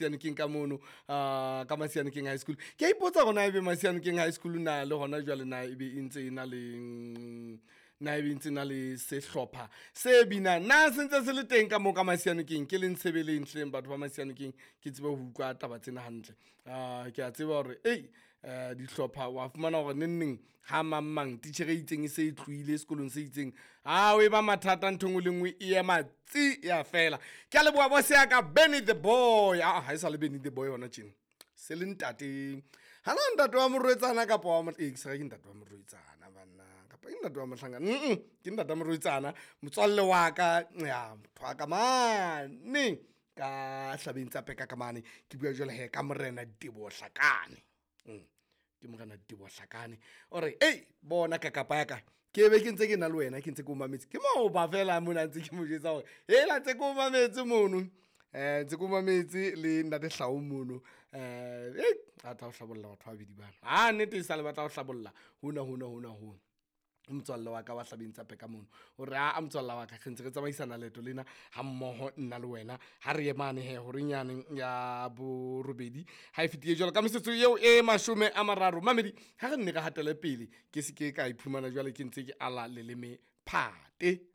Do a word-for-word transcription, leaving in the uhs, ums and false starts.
Masianokeng ka mono, uh, ka Masianokeng High School. Ke a ipotsa hore na ebe Masianokeng High School na le hona jwale na ebe e ntse e na le mm, na ebe e ntse e na le sehlopha se binang, na se ntse se le teng ka moo ka Masianokeng? Ke le ntshebeleng hleng batho ba Masianokeng, ke tsebe ho utlwa taba tsena hantle. uh, Ke a tseba hore ei eh, dihlopha wa fumana hore neng neng ha mang mang titjhere e itseng e se e tlohile sekolong se itseng, ha o e ba mathata, ntho e nngwe le nngwe e ema tsi ya fela. Ke a leboha boss ya ka Benny the Boy. Ah, ha e sa le Benny the Boy hona tjena, se le ntate hana, ntate wa morwetsana kapa wa eh, ke se ke ntate wa morwetsana banna, kapa ke ntate wa mohlankana? Mm ke ntate wa morwetsana, motswalle wa ka ya motho wa ka mane ka hlabeng tsa peka ka mane. Ke bua jwale he ka Morena Diteboho Hlakane. Mm. Ke Morena Diteboho Hlakane o re ei bona ka kapa ya ka, ke be ke ntse ke na le wena, ke ntse ke o mametse, ke maoba fela mona ntse ke mo jwetsa hore hela ntse ke o mametse mono, eh ntse ke o mametse le ntate Hlao mono. eh a tla ho hlabolla batho ba babedi bana, ha nnete e sa le batla ho hlabolla hona hona hona hona. Motswalle wa ka wa hlabeng tsa peka mono o re a motswalle wa ka, re ntse re tsamaisana leeto lena ha mmoho nna le wena, ha re ye mane he horeng yane ya borobedi ha e fetile jwalo ka metsotso eo e mashome a mararo. Mamedi, ha re nne re hatele pele, ke se ke ka iphumana jwale ke ntse ke ala leleme phate.